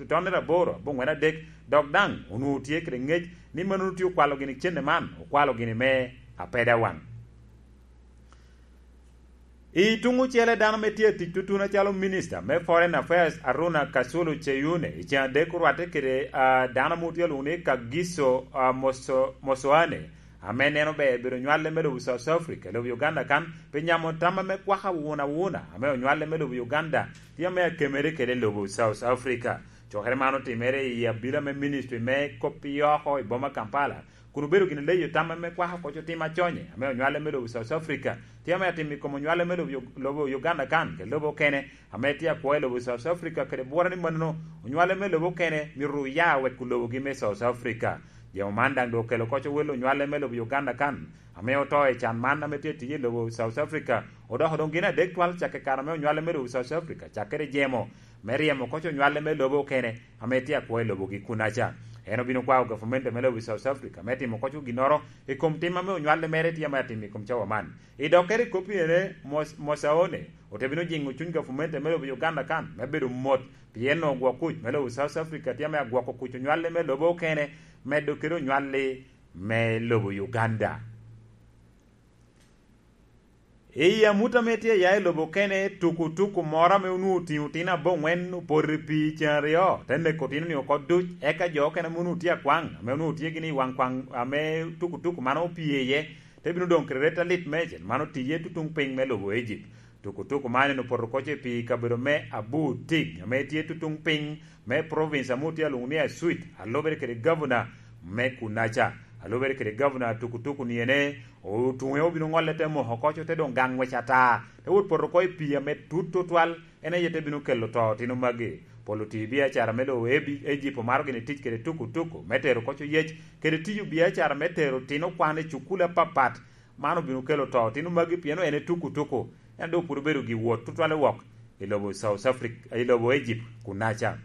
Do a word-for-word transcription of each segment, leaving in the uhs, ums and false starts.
tonere aboro aboŋwen adek, dok daŋ onwoŋo tye kede ŋec ni mano tye okwalo gini cente man, okwalo gini me apeda waŋ. I tuŋ ocele, dano ame tye atic tutun acalo Minista me Foreign Affairs, Aruna Kasulu Cheyune, i ceŋ adek orwatte kede, ah, dano ame otye alwoŋo ni Kagiso, ah, Moso-, Mosoane, ame neno ber bedo nywalle me lobo South Africa, lobo Uganda kan, pi nyamo tam ame kwaka wun awuna, ame onywale me lobo Uganda, tye ame akemere kede lobo South Africa. Cokere man otimere i abila me Ministry me Kop i Oko i boma Kampala, kun obedo gin leyo tam ame kwako koc otim aconye, ame onywale me lobo South Africa, tye ame atim i kom onywale me lobo, lobo Uganda kan, kede lobo okene, ame tye akwo i lobo South Africa, kede bwora ni mano onywale me lobo okene myero oya wek lobogi me South Africa. Jemo man daŋ doŋ okelo koc owelo onywale me lobo Uganda kan, ame oto i can man ame tye tiyo i lobo South Africa, odoko doŋ gin adek twal cakke kare ame onywale me lobo South Africa, cakkere jemo me ryemo koc onywale me lobo okene, ame tye akwo i lobogi kunaca. En obino kwao gavumenti me lobo South Africa me timo koc ginnoro i kom tim ame onywale mere tye ame atimo i kom cawa man. I dokkere i kop ene, Mos-, Mosaone ote bino jiŋo cuny gavumenti me lobo Uganda kan me bedo mot, pien onwoŋo gwok kuc me lobo South Africa tye ame agwoko kuc onywale me lobo okene, medo kede onywalli me lobo Uganda. I amut ame tye ya i lobo okene, tukutuku moro ame onwoŋo otingo otino aboŋwen opoto i pii ceŋ aryo, te neko otino-ni oko duc, eka jo okene ame onwoŋo tye akwaŋ, ame onwoŋo tye gini i waŋ kwaŋ ame tukutuku man opie iye, te bino doŋ kede ret alit meicel, man otiye tutuŋ piny me lobo Egypt. Tukutuku man en opoto koc i pii i kabedo me Abu Tig, ame tye tutuŋ piny me province ame otye alwoŋo ni Acuit, a lubere kede gavana me kunaca, a lubere kede gavana tukutuku ni ene, otuŋe obino ŋolle te moko koc, te doŋ gaŋ ngwec ata, te wot poto oko i pii ame tut tutwal, en aye te bino kelo to otino magi. Polo tiyo biacara me lobo Ebi-, Ejipt omaro gini tic kede tukutuku me tero koc oyec, kede tiyo biacara me tero otino kwan i cukul apapat, man obino kelo to otino magi pien en e tukutuku, en doŋ pwod obedo gi wot tutwale wok i lobo South Africa, i lobo Egypt kunaca.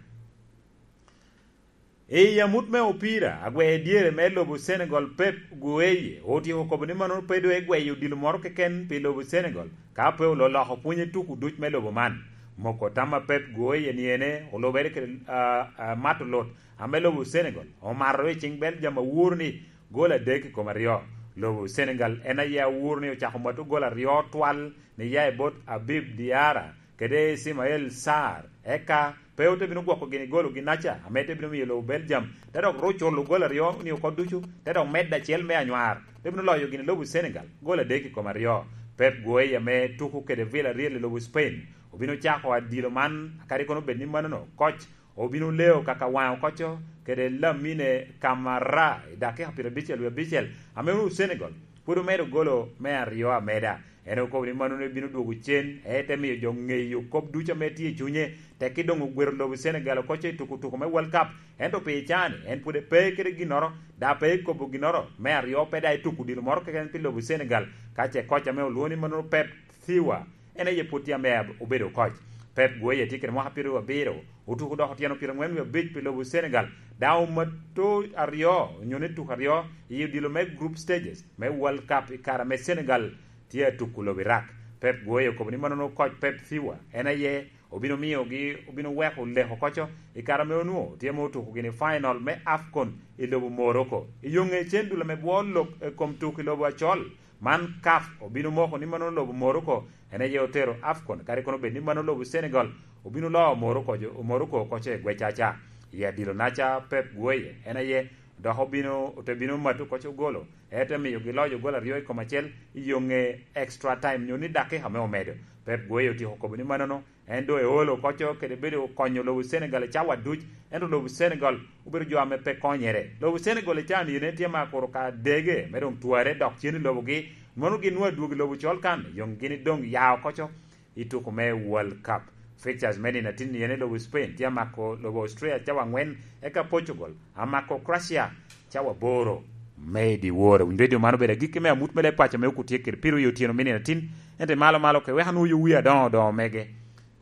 I amut me opira, agwea dyere me lobo Senegal Pep Gueye otyeko kobo ni mano pe doŋ egweyo odilo moro keken pi lobo Senegal, ka pe ololoko pwonye tuku duc me lobo man. Moko tam a Pep Gueye ni ene olubere kede, ah, ah, mato lut ame lobo Senegal omato i cing Belgium awuro ni gol adek i kom aryo. Lobo Senegal en aye awuro ni ocako mato gol aryo twal ni ya i bot Habib Diarra kede Ismael Sarr, eka pe ote bino gwoko gini golo ginaca, ame te bino miyo lobo Belgium te dok ru culo gol aryo ni oko ducu, te dok medde acel me anywar, te bino loyo gini lobo Senegal gol adek i kom aryo. Pep Gueye ame tuko kede Villarreal i lobo Spain obino cako adilo man, kadi kono bed ni manono, koc obino leo kaka waŋe okoco kede Lamine Camara i dakika pyerabicel wie abicel, ame onwoŋo Senegal pwod omedo golo me aryo ameda. En okobo ni mano bino dwogo cen, ete miyo jo ŋeyo kop ducu ame tye i cunye, tekki doŋ ogwero lobo Senegal okoco i tukutuku me World Cup. Ento pi can-ni, en pwod pe kede ginnoro, da pe ekobo ginnoro me aryo, pe da etuko odilo moro keken pi lobo Senegal, ka ce koc ame olwoŋo ni mano Pep Thiwa, en aye pwod tye ame ab-, obedo koc. Pep Gueye tye kede mwaka pyeraryo abiro, otuko dok otyeno pyerangwen wie abic pi lobo Senegal, daŋ omato aryo, onyo ni tuko aryo, i odilo me group stages me World Cup i kare ame Senegal tye atuko lobo Iraq. Pep Gueye okobo ni mano koc Pep Thiwa, en aye obino miyogi, obino weko leko koco i kare ame onwoŋo tye ame otuko gini final me afcon i lobo Morocco. I yo ŋe cen dul ame bwo lok i kom tuko i lobo acol, man CAF obino moko ni mano lobo Morocco en aye otero afcon, kadi kono bed ni mano lobo Senegal obino loo Morocco jo, Morocco okoco i gwecaca. I adilo naca Pep Gueye en aye dok obino, ote bino mato koco golo, ete miyogi loyo gol aryo i kom acel i yo ŋe extra time, nyo ni dakika me omedo. Pep Gueye otyeko kobo ni manono, en doŋ eolo koco kede bedo konyo lobo Senegal i cawa duc, ento lobo Senegal obedo jo ame pe konyere. Lobo Senegal i can yen tye ma kuro ka dege me doŋ tware dok cen i lobogi, mono gin nwoŋo adwogi lobo col kan, yoŋ gin doŋ ya okoco i tuko me World Cup. Fixtures me nino atin yen i lobo Spain tye amako lobo Austria cawa angwen, eka Portugal amako Croatia cawa aboro me i dyewor. Winyo redio man obedo agikki me amut me leb paco me okutye kede piro i otyeno me nino atin, ento i malo malo ke wek anwoŋo yo wi adoŋo doŋo mege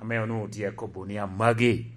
ame onwoŋo tye akobo ni amagi.